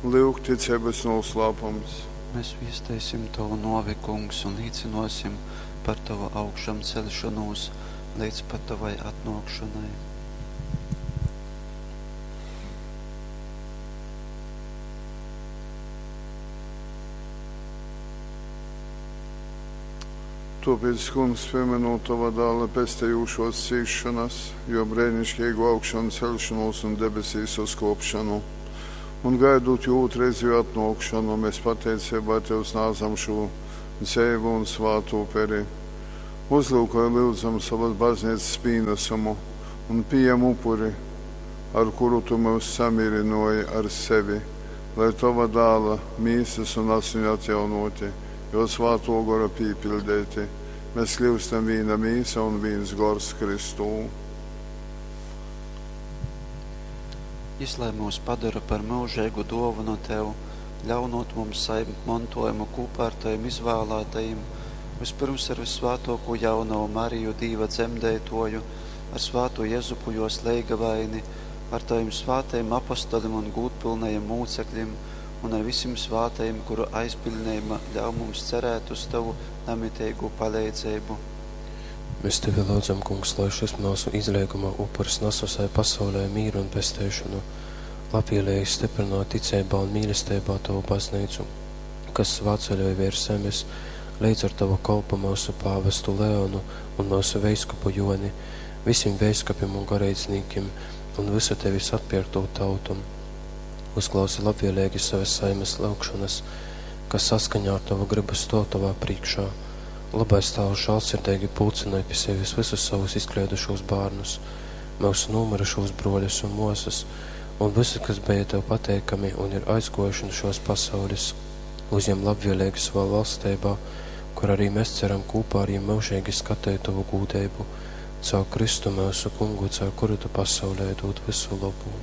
Lyuk ticeibys nūslāpums. Mēs viesteisim tovu nōvi, Kungs, un līcynōsim par tovu augšamceļšonūs leidz pat tovai atnōkšonai. Tōpēc, Kungs, pīmynūt tova dāla pestejūšōs cīsšonas, jō breiniškeigū augšanceļšonūs un debesīs uzkōpšonu, un gaidūt jō ūtrreizejū atnōkšonu, mēs pateiceibā tev snādzam šū dzeivu un svātu uperi. Uzlyukoj, lyudzam, sovas bazneicas pīnasumu un pījem upuri, ar kuru tu myus samīrynōji ar sevi, lai tova dāla mīsas un asiņu atjaunōti, jō svātō gora pīpiļdeiti, mēs kļyustam vīna mīsa un vīns gors Kristū. Jys lai myus padora par myužeigu dōvonu tev, ļaunūt mums sajimt montōjumu kūpā ar tovim izvālātajim, vyspyrms ar vyssvātōkū jaunovu Mariju, Dīva dzemdeitōju, ar svātū Jezupu jōs leigavaini, ar tovim svātajim apostolim un gūdpylnajim mūceklim un ar visim svātajim, kuru aizbiļneiba ļauj mums cerēt uz tovu namiteigū paleidzeibu. Mēs tevi lyudzam, Kungs, lai šys myusu izleiguma upurs nas vysai pasaulei mīru un pesteišonu. Labvēlīgi stiprināt ticeibā un mīlesteibā tovu bazneicu, kas svātceļoj vērs zemes, leidz ar tovu kolpu myusu pāvestu Leonu un myusu veiskupu Joni, visim veiskupim un goreidznīkim un visu tevis atpierktū tautu. Uzklausi labvēlīgi savas saimes lyugšonas, kas saskaņā ar tovu gribu stōv tovā prīškā. Lobais Tāvs žālsirdeigi pulcynoj pi sevis visus savus izkleidušūs bārnus, myusu nūmyrušūs brōļus un mōsas, un visus, kas beja tev pateikami un ir aizgōjuši nu šōs pasaules, uzjem labvēlīgi savā valsteibā, kur arī mēs ceram kūpā ar jim myužeigi skateit tovu gūdeibu. Caur Kristu myusu Kungu, caur kuru tu pasaulei dūd vysu lobu.